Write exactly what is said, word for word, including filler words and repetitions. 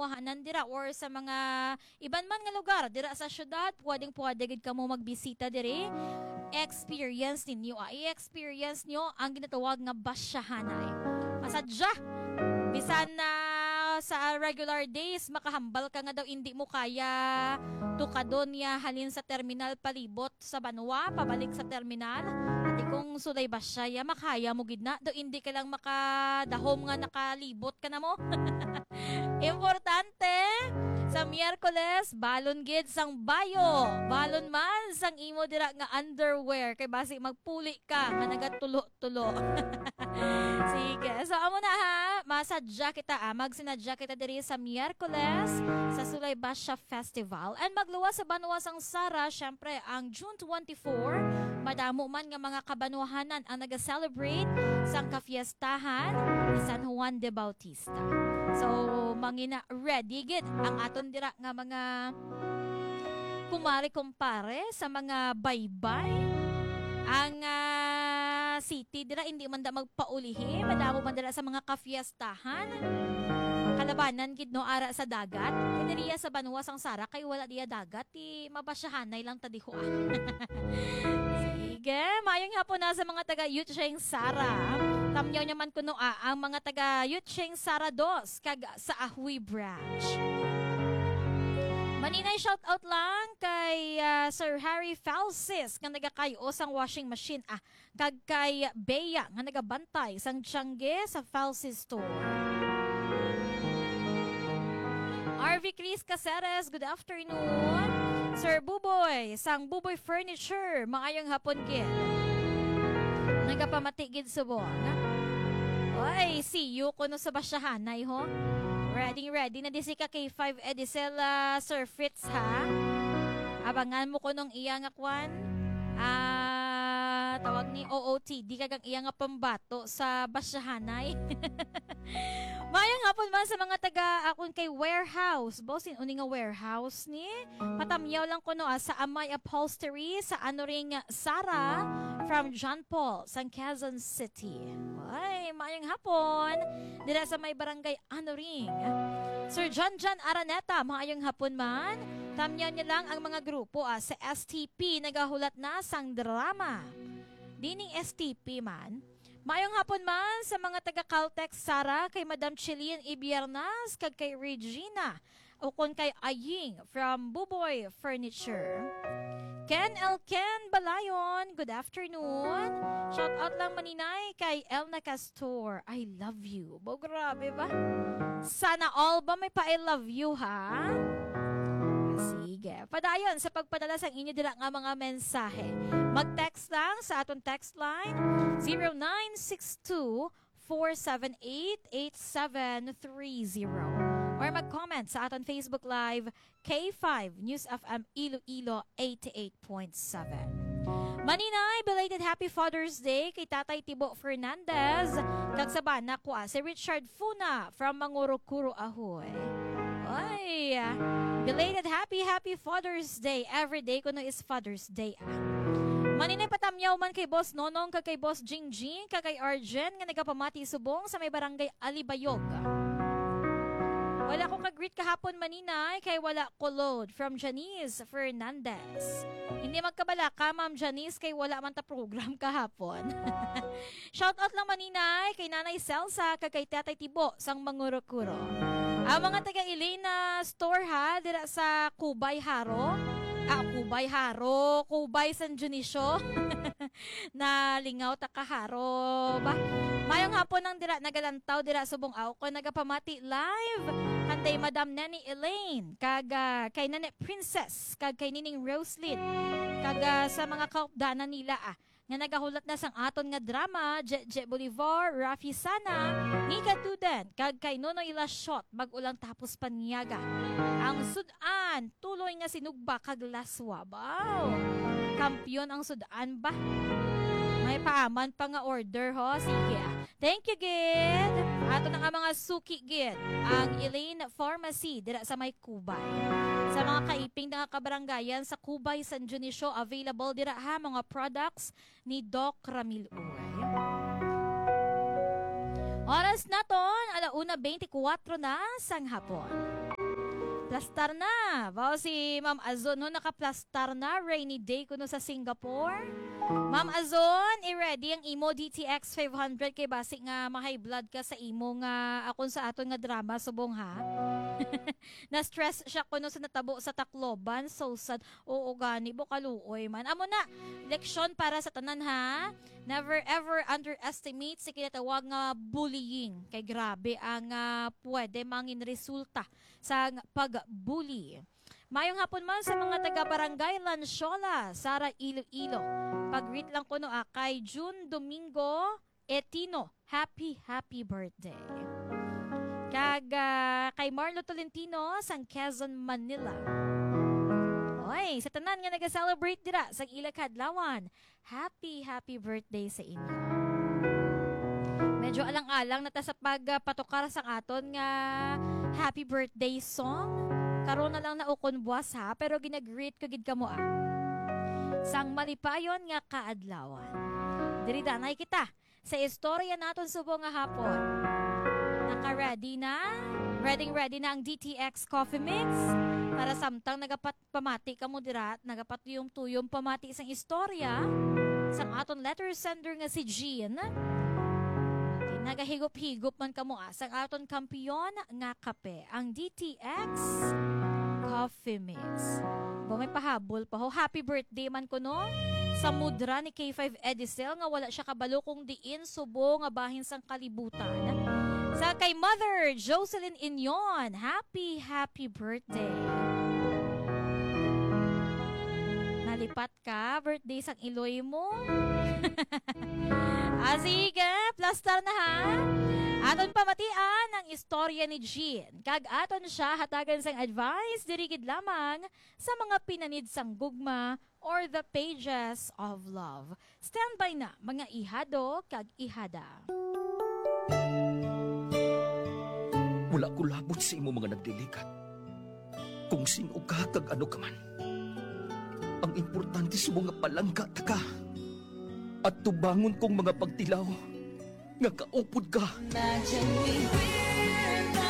kabanwahanan dira or sa mga iban man nga lugar dira sa syudad, pwedeng-pwede gid kamo magbisita diri. Experience ninyo, ah, i-experience nyo ang ginatawag nga basyahanay. Masadya, bisan na sa regular days, makahambal ka nga daw hindi mo kaya tukadon niya halin sa terminal palibot sa banwa, pabalik sa terminal. Ati kung sulay ba siya, ya, makaya mo gid na. Do hindi ka lang makadahom nga nakalibot ka na mo. Importante, sa Miyerkules, balon gid sang bayo. Balon man sang imo dira nga underwear. Kay basi magpuli ka nga nagatulo-tulo. Sige. So, amo na ha. Masadya kita, ah. Magsinadya kita diri sa Miyerkules sa Sulay Basya Festival. And magluwas sa banwa sang Sara, syempre, ang June twenty-four, madamo man nga mga kabanwahanan ang nag-celebrate sang kafiestahan ni San Juan de Bautista. So, mangina ready gid ang aton dira nga mga kumare kumpare sa mga baybay. Ang, ah, city dira hindi man da magpaulihi, madamo man dira sa mga kafiestahan. Kalabanan gid, no, ara sa dagat. Kay diriya sa banwa sang Sara kay wala diya dagat, ti mabasyahanay lang ta diho, ah. Sige, mayong hapon na sa mga taga Yucheng Sara. Tamyaw naman kuno, ah, ang mga taga Yucheng Sara dos kag sa Ahui Branch. Maninay shout out lang kay, ah, Sir Harry Falsis nga nagakayo sang washing machine, ah, kag kay Bea nga nagabantay sang tiyangge sa Falsis Store. R V Chris Caceres, good afternoon. Sir Buboy, sang Buboy Furniture, maayong hapon gid. Nagapamati gid subong. Oy, see you kuno sa basyahanay, ho. Ready, ready na di si ka K five Edicel, ah, Sir Fritz, ha? Abangan mo kunong iya nga kwan. Ah, tawag ni O O T D kag ang iya nga pambato sa basyahanay. Mayang hapon man sa mga taga akon kay warehouse. Boss, sin-o ni nga warehouse ni? Patamyaw lang kuno, ah, sa Amay Upholstery sa Anoring Sara from John Paul, sang Quezon City. Ay, mayang hapon. Dira sa may barangay Anoring. Sir John John Araneta, maayong hapon man. Tamyaw niya lang ang mga grupo, ah, sa S T P nagahulat na sang drama. Dining S T P man. Maayong hapon man sa mga taga Caltex Sara, kay Madam Chilin Ibiernas kag kay Regina, ukon kay Aying from Buboy Furniture. Ken L. Ken Balayon, good afternoon. Shout out lang maninay kay Elna Castor. I love you. Bo, grabe ba? Sana all ba may pa I love you, ha? Sige. Padayon sa pagpadala sang inyo dira nga mga mensahe. Mag-text lang sa aton text line, zero nine six two, four seven eight, eight seven three zero. Or mag-comment sa aton Facebook Live, K five News F M Iloilo eighty-eight point seven. Maninay, belated Happy Father's Day kay Tatay Tibo Fernandez, kag sa bana ko, ah, si Richard Funa from Mangurukuro, Ahoy. Oy, belated Happy, Happy Father's Day. Every day kuno is Father's Day, ah. Maninay, patamyaw man kay Boss Nonong, kag kay Boss Jingjing, kag kay Arjen nga nagapamati subong sa may barangay Alibayog. Wala ko ka-greet kahapon, maninay, kay wala ko load. From Janice Fernandez. Hindi magkabalaka, Ma'am Janice, kay wala man ta program kahapon. Shout out lang, maninay, kay Nanay Celsa kag kay Tatay Tibo sang Mangurukuro. Ang mga taga Elena Store, ha, dira sa Kubay Haro. Ah, Kubay Haro, Kubay San Dionisio. Nalingaw ta ka, Haro ba. Mayong hapon ang dira nagalantaw dira subong, aw ko nagapamati live kanday Madam Neni Elaine, kag, ah, kay Nene Princess, kag kay Nining Roslyn, kag, ah, sa mga kaupdanan nila, ah, nga nagahulat na sang aton nga drama, Jeje Bolivar, Rafi Sana, Nika Duden, kag kay Nonoy Lashot, bag-o lang tapos panyaga. Ang sud-an, tuloy nga sinugba kag laswa. Baw! Kampiyon ang sud-an ba? May paaman pa nga order, ho? Sige, ah. Thank you, gid. Ato na nga mga suki, gid. Ang Elaine Pharmacy, dira sa may Kubay. Sa mga kaiping nga kabarangayan sa Kubay, San Dionisio, available dira, ha, mga products ni Doc Ramil Uy. Oras naton, ala una bente kuwatro na sang hapon. Plastar na. Wow, si Ma'am Azon, no, nakaplastar na. Rainy day kuno sa Singapore. Ma'am Azon, i-ready ang imo D T X five hundred kay basi nga ma-high blood ka sa imo nga akon sa aton nga drama subong, ha. Na-stress siya kuno sa natabo sa Tacloban. So sad. Oo gani, bo kaluoy man. Amo na, leksyon para sa tanan, ha. Never ever underestimate sa kinatawag nga bullying. Kay grabe ang ah, pwede mangin resulta sa pag-bully. Mayong hapon man sa mga taga Barangay Lanciola, Sara, Iloilo. Pag-greet lang kuno ah, kay June Domingo Etino. Happy, happy birthday. Kag ah, kay Marlo Tolentino sang Quezon, Manila. Oy, sa tanan nga nag-celebrate dira sa ila kadlawan, happy, happy birthday sa inyo. Medyo alang-alang na ta sa pagpatukar sang aton nga happy birthday song. Karon na lang na ukon buwas ha, pero ginag-greet ko gid kamo ah. Sang malipayon nga kaadlawan. Diri danay kita sa istorya naton subong nga hapon. Naka-ready na? Ready, ready na ang D T X Coffee Mix? Para samtang nagapat pamati kamo dira, nagapatuyom-tuyom pamati sang istorya sang aton letter sender nga si Jean. Nagahigop-higop man kamo ah, sang aton kampiyon nga kape, ang D T X Coffee Mix. Ba, may pahabol pa ho. Happy birthday man kuno sa mudra ni K five Edicel nga wala siya kabalo kung diin subo nga bahin sang kalibutan. Sa kay Mother Jocelyn Inyon, happy, happy birthday. Nalipat ka, birthday sang iloy mo. Ah, sige, plastar na ha. Aton pamatian ang istorya ni Jean. Kag aton siya hatagan sang advice diri gid lamang sa mga pinanid sang gugma or the pages of love. Standby na, mga ihado kag ihada. Wala ko labot sa imo mga nagliligat. Kung sin-o ka kag ano ka man. Ang importante subong nga palangga ta ka. At tubangon kong mga pagtilaw nga kaupod ka. Imagine we were the